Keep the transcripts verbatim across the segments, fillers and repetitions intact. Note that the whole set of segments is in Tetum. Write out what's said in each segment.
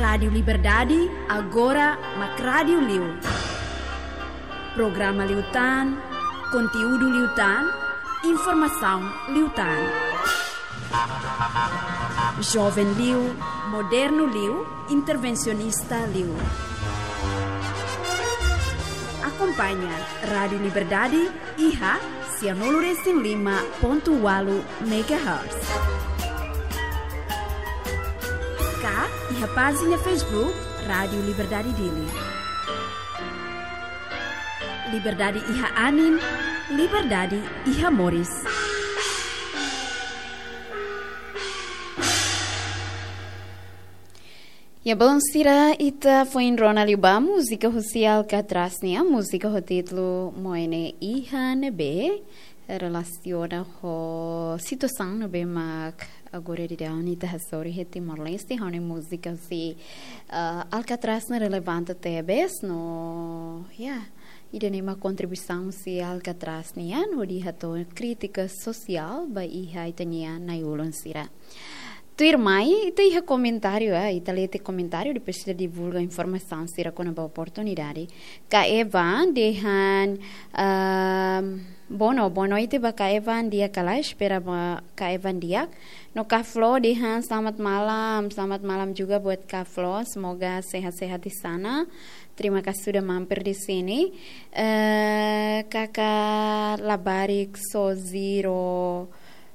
Rádiu Liberdade, agora mak rádiu liu. Programa liután, konteúdu liután, informasaun liután. Joven liu, modernu liu, intervensionista liu. Akompaña Rádiu Liberdade iha sianulu resin lima pontu ualu megahertz. Ka iha pájina Facebook Rádiu Liberdade Dili. Liberdade iha anin, liberdade iha moris. Ya, belun sira, ita foin rona liu ba múzika husi Alcatraz nian, múzika ho títulu Moene Iha ne'ebé relasiona ho situasaun ne'ebé mak agora daudaun ita hasoru iha Timor-Leste, ho ne'e múzika husi, ah, Alcatraz ne'e relevante tebes no, ya, ida-ne'e mak kontribuisaun husi Alcatraz nian, hodi hato'o krítika sosiál ba iha ita-nia na'i-ulun sira. Tuirmai, ita iha komentáriu, ah, ita lee tiha komentáriu, depois ita divulga informasaun sira kona-ba oportunidade. Ka Eva dehan, ahm, bono, boa noite ba Ka Eva, di'ak ka lae, espera ba Ka Eva di'ak. No Ka Flo dehan, selamat malam, selamat malam juga buat Ka Flo, semoga sehat-sehat di sana. Terima kasih sudah mampir di sini. Eh, Kakak Labarik Sojiro,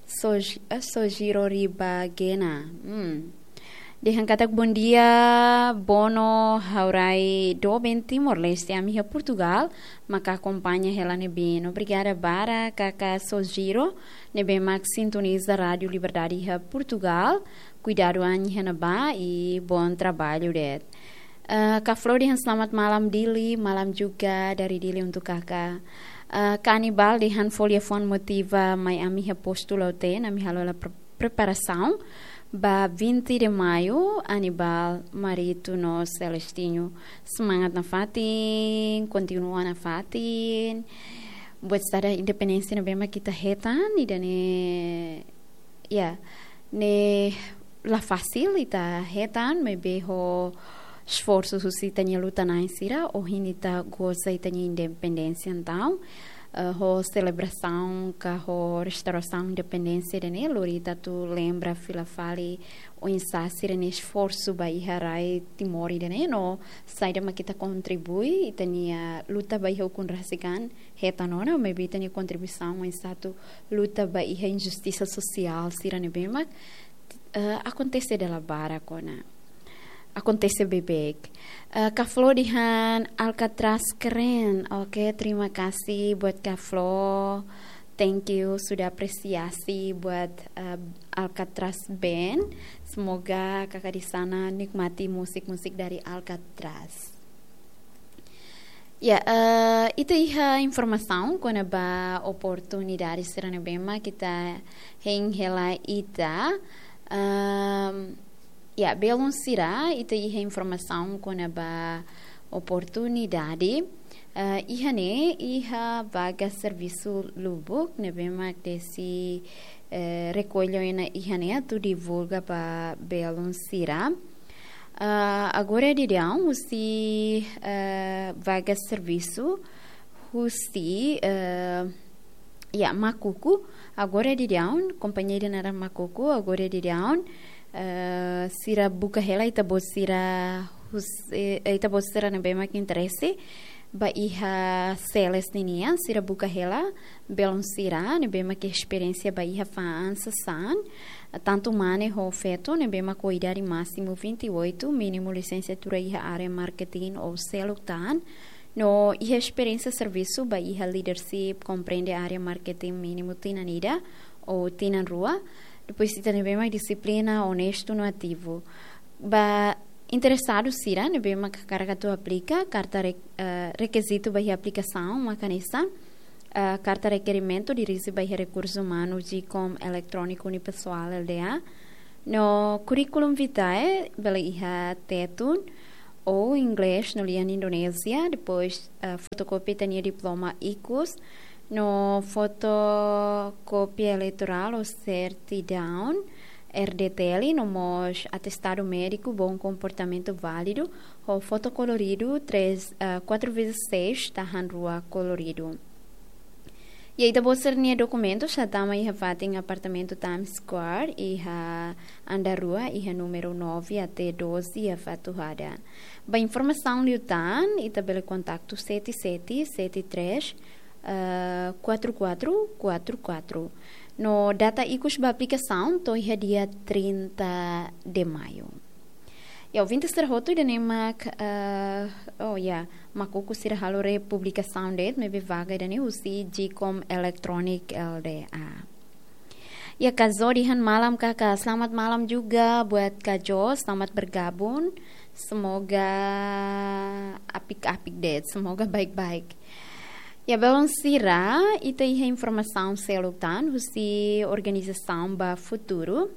Soj-, eh, Sojiro Ribagena. Hmm. Dehan katak, "Bom dia, Bono, ha'u rai doben Timor-Leste, ami iha Portugal, maka akompaña hela ne'ebé." Obrigada barak, Kakak Sojiro, ne'ebé mak sintoniza Rádiu Liberdade iha Portugal. Kuidadu an iha ne'ebá i bom trabalho de'it. Eh, Ka Flo dehan, "Selamat malam Dili, malam juga dari Dili untuk Kakak." Eh, Ka Anibal dehan, "Fó liafuan motiva mai ami iha postu Lautém, ami halo hela pre-, preparasaun ba vinte de Maio, Anibal, Marito no Celestino." Semangat nafatin, kontinua nafatin. Buat sada independénsia ne'ebé mak ita hetan, ida-ne'e, ya, ne'e la fasil ita hetan, maibé ho esforsu husi ita-nia luta-na'in sira, ohin ita goza ita-nia independénsia entaun, eh, ho selebrasaun ka ho restaurasaun independénsia ida-ne'e, lori ita atu lembra fila fali oinsá sira-nia esforsu ba iha rai Timor ida-ne'e, no saida mak ita kontribui, ita-nia luta ba iha ukun rasik an, hetan ona, maibé ita-nia kontribuisaun oinsá atu luta ba iha injustisa sosiál sira ne'ebé mak, eh, akontese dala barak ona. Akontese beibeik. Eh, Ka Flo dehan, "Alcatraz keren." Oke, terima kasih buat Ka Flo. Thank you sudah apresiasi buat, eh, Alcatraz Band. Semoga kakak di sana nikmati musik-musik dari Alcatraz. Ya, eh, ita iha informasaun kona-ba oportunidade sira ne'ebé mak ita hein hela ita. Ehm, ya, belun sira, ita iha informasaun kona-ba oportunidade. Eh, iha ne'e, iha vaga servisu lubuk ne'ebé mak Desi, eh, rekolla ona iha ne'e atu divulga ba belun sira. Ah, agora daudaun husi, eh, vaga servisu husi, eh, ya, Makuku. Agora daudaun, kompañia ida naran Makuku, agora daudaun, eh, sira buka hela ita-boot sira hus-, eh, ita-boot sira ne'ebé mak interese ba iha sales ninian, sira buka hela belun sira ne'ebé mak esperiénsia ba iha fa'an sasán, tantu mane ho feto ne'ebé mak ho idade másimu vinte e oito, mínimu lisensiatura iha área marketing ou seluk tan, no iha esperiénsia servisu ba iha leadership, komprende área marketing mínimu tinan ida ou tinan rua, depois ita ne'ebé mak dixiplina, onestu no ativu. Ba interesadu sira ne'ebé mak hakarak atu aplika, karta re-, eh, rekizitu ba iha aplikasaun mak hanesan, eh, karta rekerimentu dirije ba iha Rekursu Umanu, GCOM Eletróniku Unipessoal, L D A. No curriculum vitae bele iha Tetun ou inglés no lian Indonézia, depois, eh, fotokópia ita-nia diploma ikus, no fotokópia eleitorál ou sertidaun, R D T L, no mós atestadu médiku bom komportamentu válidu, ho foto koloridu três, ah, quatro vezes seis, tahan rua koloridu. I ita-boot sira-nia dokumentu sei tama iha fatin apartamentu Times Square, iha andár rua, iha númeru nove até doze, iha Fatuhada. Ba informasaun liután, ita bele kontaktu sete sete sete três, eh, quatro quatro quatro quatro. No data ikus ba aplikasaun to'o iha dia trinta de maio. Ya, ouvinte sira hotu, ida-ne'e mak, eh, oh ya, mak ukun sira halo republikasaun de'it, maibé vaga ida-ne'e husi Jcom Electronic L D A. Ya, Kazo dehan malam, Kakak. Selamat malam juga buat Kazo, selamat bergabung. Semoga apik-apik de'it, semoga baik-baik. Ya, belun sira, ita iha informasaun seluk tan husi organizasaun Ba Futuru.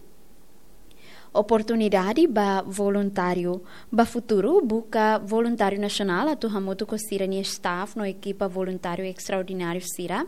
Oportunidade ba voluntáriu. Ba Futuru buka voluntáriu nasionál atu hamutuk ho sira-nia staff no ekipa voluntáriu estraordináriu sira.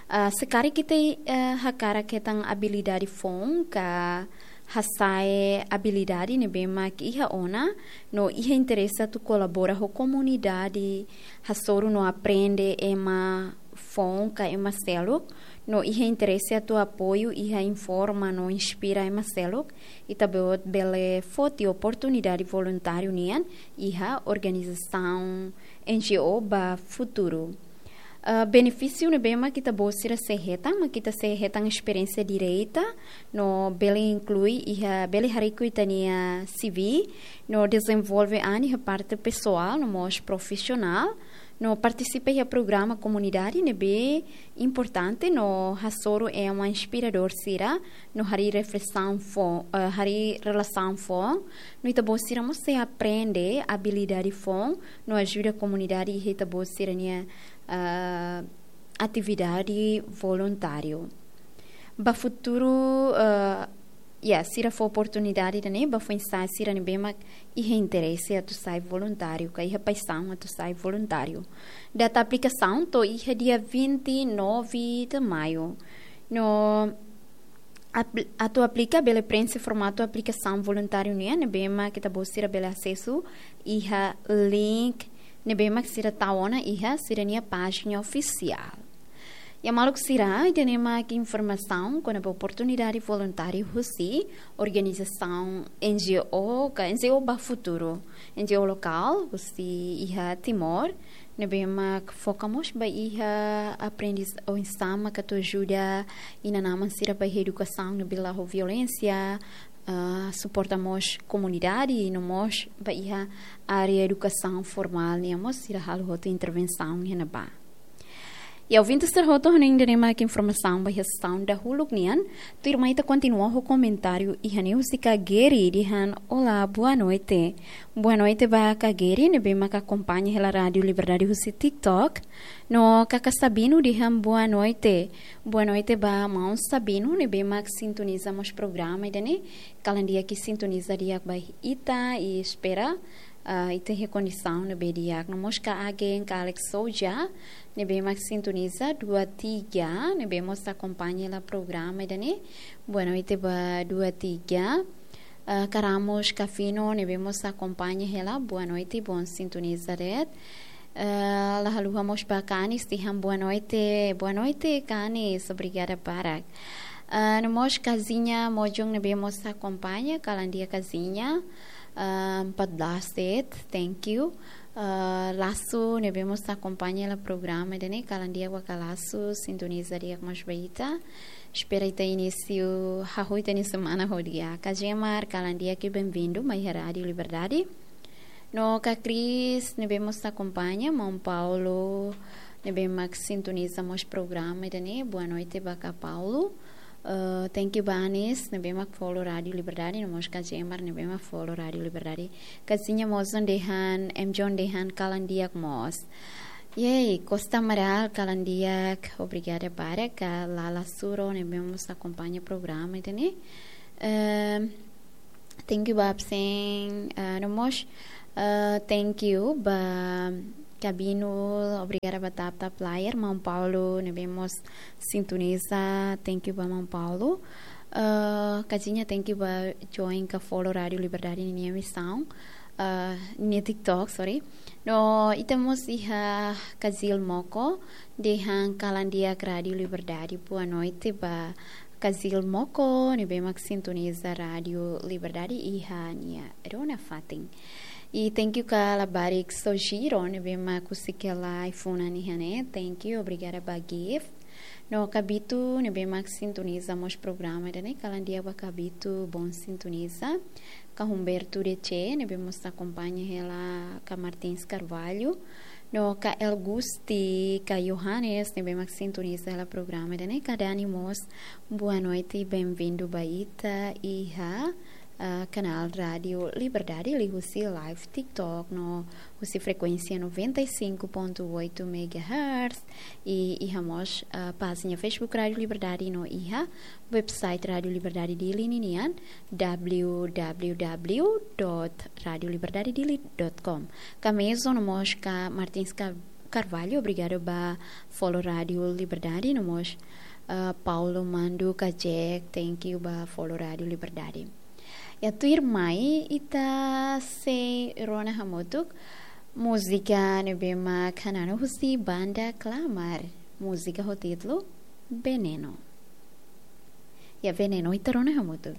Ah, se karik ita, eh, hakarak hetan abilidade foun ka hasa'e abilidade ne'ebé mak iha ona, no iha interese atu kolabora ho komunidade, hasoru no aprende ema foun ka ema seluk, no iha interese atu apoiu, iha informa no inspira ema seluk, ita-boot bele foti oportunidade voluntáriu nian iha organizasaun N G O Ba Futuru. Ah, benefísiu ne'ebé mak ita-boot sira sei hetan, mak ita sei hetan esperiénsia direta, no bele inklui iha, bele harii ita-nia C V, no dezenvolve an iha parte pesoál, no mós profisionál, no partisipa iha programa komunidade ne'ebé importante, no hasoru ema inspiradór sira, no harii reflesaun foun, eh, harii relasaun foun, no ita-boot sira mós sei aprende abilidade foun, no ajuda komunidade iha ita-boot sira-nia, eh, atividade voluntáriu. Ba Futuru, eh, ya, sira fó oportunidade ida-ne'e ba foin-sa'e sira ne'ebé mak iha interese atu sai voluntáriu, ka iha paixaun atu sai voluntáriu. Data aplikasaun to'o iha dia vinte e nove de maio. No apl-, atu aplika bele preenxe formatu aplikasaun voluntáriu nian, ne'ebé mak ita-boot sira bele asesu iha link ne'ebé mak sira tau ona iha sira-nia pájina ofisiál. Ya, maluk sira, ida-ne'e mak informasaun kona-ba oportunidade voluntáriu husi organizasaun N G O, ka N G O Ba Futuru, N G O lokál husi iha Timor, ne'ebé mak foka mós ba iha aprendiz oinsá mak atu ajuda inan-aman sira ba iha edukasaun ne'ebé la'o ho violénsia, ah, suporta mós komunidade, no mós ba iha área edukasaun formál nian mós sira halo hotu intervensaun iha ne'ebá. Ya, ouvinte sira hotu, hanoin ida-ne'e mak informasaun ba iha sesaun dahuluk nian, tuirmai ita kontinua ho komentáriu iha ne'e husi Kak Geri dehan: "Olá, boa noite." Boa noite ba Kak Geri, ne'ebé mak akompaña hela Rádiu Liberdade husi TikTok. No Kaka Sabino dehan boa noite. Boa noite ba maun Sabino, ne'ebé mak sintoniza mós programa ida-ne'e. Kalan di'ak, sintoniza di'ak ba ita, i espera, ah, ita iha kondisaun ne'ebé di'ak. No mós Kak Agen, Kak Alex Souza, ne'ebé mak sintoniza Dua Tiga, ne'ebé mós akompaña hela programa ida-ne'e. Boa noite ba Dua Tiga. Ah, Kak Ramos Kafino, ne'ebé mós akompaña hela. Boa noite, bom sintoniza de'it. Ah, la haluha mós ba Kak Anis dehan boa noite. Boa noite, Kak Anis. Obrigada barak. Ah, no mós Kazinha Mojong, ne'ebé mós akompaña, kalan di'ak Kazinha. Ah, empat belas de'it, thank you. Ah, Lasu, ne'ebé mós akompaña hela programa ida-ne'e, kalan di'ak ba Kak Lasu, sintoniza di'ak mós ba ita. Espera ita inísiu hahú ita-nia semana ho di'ak. Kak Jemar, kalan di'ak i benvindu mai iha Rádiu Liberdade. No Kak Cris, ne'ebé mós akompaña, maun Paulo, ne'ebé mak sintoniza mós programa ida-ne'e. Boa noite ba Kak Paulo. Eh, thank you ba Anis, ne'ebé mak follow Rádiu Liberdade, no mós Kak Jemar, ne'ebé mak follow Rádiu Liberdade. Kazinha Mojong dehan, M John dehan, kalan di'ak mós. Yay, Costa Amaral, kalan di'ak, obrigada barak. Kak Lala Suro, ne'ebé mós akompaña programa ida-ne'e. Ehm, thank you ba absen, ah, no mós, ah, thank you ba Kabino, obrigada ba tap tap layar, maun Paulo, ne'ebé mós sintoniza, thank you ba maun Paulo. Ah, Kazia, thank you ba join ka follow Rádiu Liberdade ninia emisaun. Ah, ninia TikTok, sorry. No, ita mós iha Kazil Moko, dehan kalan di'ak Rádiu Liberdade. Boa noite ba Kazil Moko, ne'ebé mak sintoniza Rádiu Liberdade iha nia rona fatin. I thank you ka labarik Sojiro, ne'ebé mak husik hela ai-funan iha ne'e. Thank you, obrigada ba gift. No Kabito, ne'ebé mak sintoniza mós programa ida-ne'e, kalan di'ak ba Kabito, bom sintonia. Ka Humberto D C, ne'ebé mós akompaña hela ka Martins Carvalho. No ka El Gusti, ka Johannes, ne'ebé mak sintoniza hela programa ida-ne'e, ka Dani mós, boa noite, bem-vindo ba ita iha ah, kanál Rádiu Liberdade, liuhusi live TikTok no husi frekuénsia noventa e cinco ponto oito megahertz, i iha mós, ah, pájina Facebook Rádiu Liberdade no iha website Rádiu Liberdade Dili ninian, w w w dot radio liberdade dili dot com. Ka Mezo no mós ka Martins Car-, Carvalho, obrigada ba follow Rádiu Liberdade no mós, ah, Paulo Mando Kajek, thank you ba follow Rádiu Liberdade. Ya, tuirmai ita sei rona hamutuk múzika ne'ebé mak hananu husi banda Klamar. Múzika ho títulu Veneno. Ya, Veneno ita rona hamutuk.